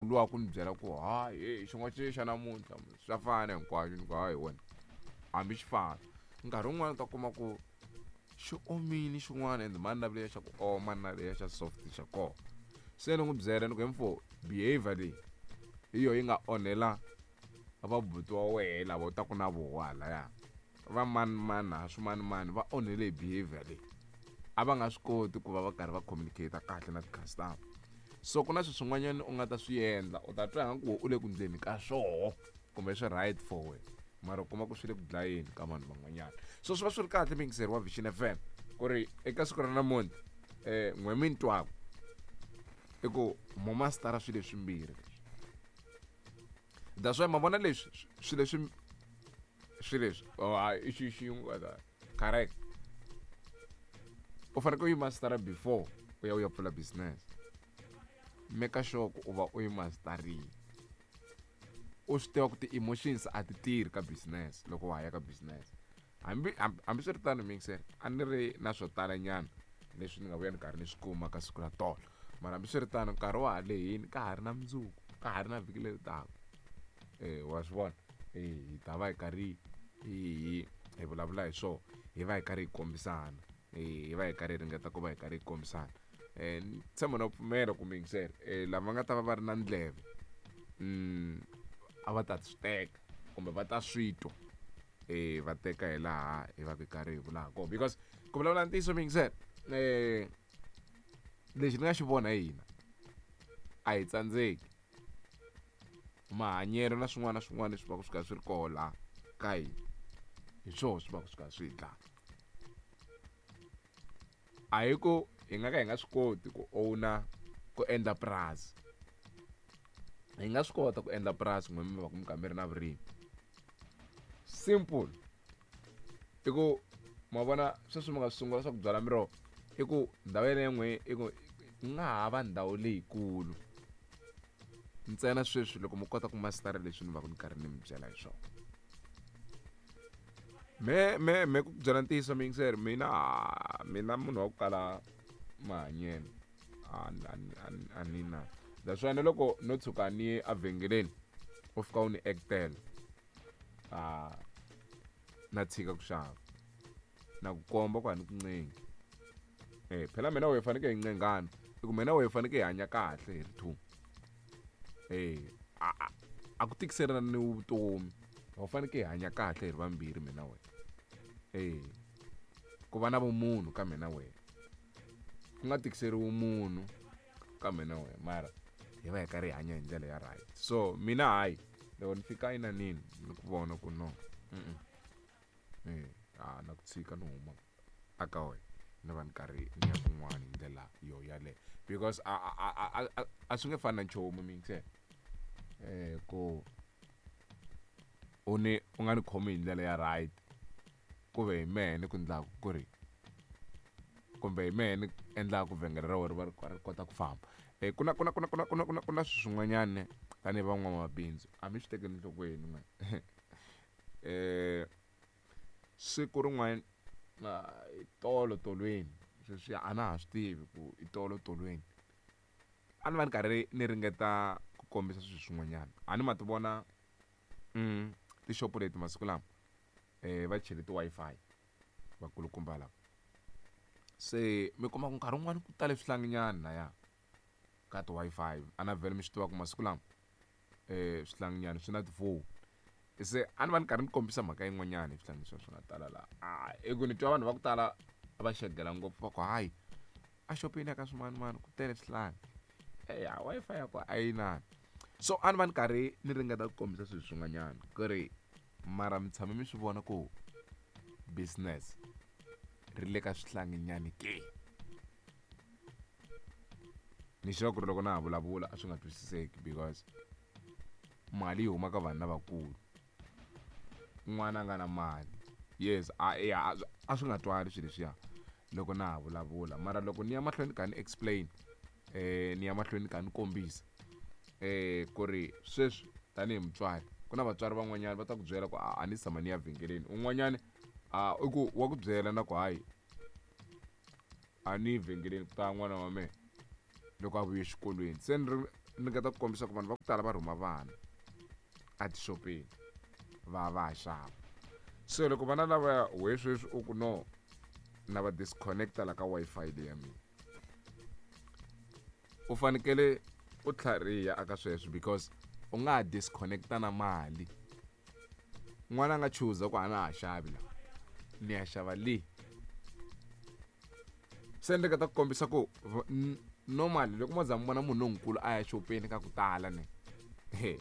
Luwa ku ni byela ku hayi heyi xin'wana xi xa namuntlha swa fana hinkwaswo ni ku hayi wena hambi xi fana nkarhi wun'wani u ta kuma ku xi omile xin'wana and mani na leya xa ku oma na leya xa soft xa kona se ni n'wi byela ni ku mfo behavior leyi hi yo yi nga onhela vabuti wa wehe lava u taku na voho halaya va mani mani ha swimanimani va onhele hi behavior leyi a va nga swi koti ku va va karhi va communicate kahle na ti-customer so ku na swilo swin'wanyana u nga ta swi endla u ta twa nga ku u le ku ndleni ka swoho kumbe swi right for wena mara u kuma ku swi le ku dlayeni ka vanhu van'wanyana so swi va swi ri kahle muyingiseri wa Vision FM ku ri eka siku ra namuntlha um n'we mi ni twaku i ku mo mastara swilo leswimbirhi leswi that's why ma vona leswi swilo leswi swilo leswi oh hayi i xi xin'we correct u fanekele u yi mastara before u ya u ya pfula business make sure ku u va u yi mastarile u swi tiva ku ti-emotions a ti tirhi ka business loko wa ha ya ka business hambi hambiswiritano mixer a ni ri na swo talanyana leswi ni nga vuya ni karhi ni swi kuma ka siku ra tolo mara hambiswiritano nkarhi wa ha lehini ka ha ri na mundzuku ka ha ri na vhiki leri taka wa swi vona hi ta va hi karhi hi hi vulavula hi swona hi va hi karhi hi kombisana hi va hi karhi hi ringeta ku va hi karhi hi kombisana ni tshemba na pfumela ku muyingiseri lava nga ta va va ri na ndleve a va ta swi teka kumbe va ta swi twa va teka hi laha hi va hi karhi hi vula ha kona because ku vulavula ntiyiso muyingiseri lexi ni nga xi vona hi hina a hi tsandzeki mahanyelo na swin'wana na swin'wana leswi va ku swi kha swi ri koho laha ka hina hi swona swi va ku swi kha swi hi dlaya a hi ku hi nga ka hi nga swi koti ku owner ku endla purasi hi nga swi kota ku endla purasi n'we mi va ku mi kha mi ri na vurimi simple i ku ma vona sweswi mi nga swi sungula swa ku byala miroho i ku ndhawu yeleyo n'we i ku ku nga ha va ndhawu leyikulu ntsena sweswi loko mi kota ku masitara leswi ni va ku ni karhi ni mi byela hi swona me me me ku byela ntiyiso muyingiseri mina mina munhu wa ku kala mahanyelo a a ni na that's why na loko no tshuka ni ye evhengeleni u fika u ni actela a na tshika ku xava na ku komba ku a ni ku ncengi phela mina wehe fanekele hi ncengana i ku mina wehe fanekele hi hanya kahle hi ri two a a ku tikiselana ni vutomi ho fanekele hi hanya kahle hi ri vambirhi mina wena ku va na vumunhu ka mina wena ku nga tikiseriwi munhu ka mina wena mara hi va hi karhi hi hanya hi ndlela ya right so mina hayi loko ni fika inanini ni ku vona ku no a na ku tshika ni huma aka wena ni va ni karhi ni ya kun'wana hi ndlela yo yaleyo because a a a a a swi nge fani na nchumu miyingisela ku u ni u nga ni khomi hi ndlela ya right ku ve hi mehe ni ku ndlaku ku ri kumbe hi mehe ni endlaka ku vhengele ra wena ri va ri ri kota ku famba ku na ku na ku na ku na ku na ku na ku na swilo swin'wanyana tanihi van'wamabindzu a mi swi tekeli enhlokweni n'we siku rin'wana hi tolo tolweni sweswi a na ha swi tivi ku i tolo tolweni a ni va ni karhi ni ringeta ku kombisa swilo swin'wanyana a ni ma ti vona tixopo leti masiku lama va chele ti-Wi-Fi vakulukumba lava se mi kuma ku nkarhi wun'wani ku tale swihlanginyana laya ka ti-Wi-Fi a na vhele mi swi tiva ku masiku lama swihlanginyana swi na tifoni se a ni va ni karhi ni kombisa mhaka yin'wanyana hi swihlangi swa swi nga tala laha a i ku ni twa vanhu va ku tala va xegela ngopfu va ku hayi a xopeni ya ka swimanimani ku tele swihlangi eya Wi-Fi ya kona a yi inani so a ni va ni karhi ni ringeta ku kombisa swilo swin'wanyana ku ri mara mi tshame mi swi vona ku business ri le ka swihlanginyani ke ni sure ku ri loko na ha vulavula a swi nga twisiseki because mali yi huma ka vanhu lavakulu n'wana a nga na mali yes a ya a swi nga twali swilo leswiya loko na ha vulavula mara loko ni ya mahlweni ka ni explain ni ya mahlweni ka ni kombisa ku ri sweswi tanihi mutswari ku na vatswari van'wanyana va ta ku byela ku a ni tshama ni ya vhengeleni un'wanyana a i ku wa ku byela na ku hayi a ni yi vhengeleni ku ta n'wana wa mehe loko a vuye exikolweni se ni ri Ringeta ku kombisa ku vanhu va ku tala va rhuma vana etixopeni va va ya xava. Se loko vana lavaya we sweswi u ku no na va disconnect-a la ka Wi-Fi leyi ya mina, u fanekele u tlhariha aka sweswo because u nga ha disconnect-a na mali. N'wana a nga chuza ku a na ha xavi la, ni ya xava le. Se ni ringeta ku kombisa ku normally loko mo za mi vona munhu lonkulu a ya xopeni ka ku tala ne he.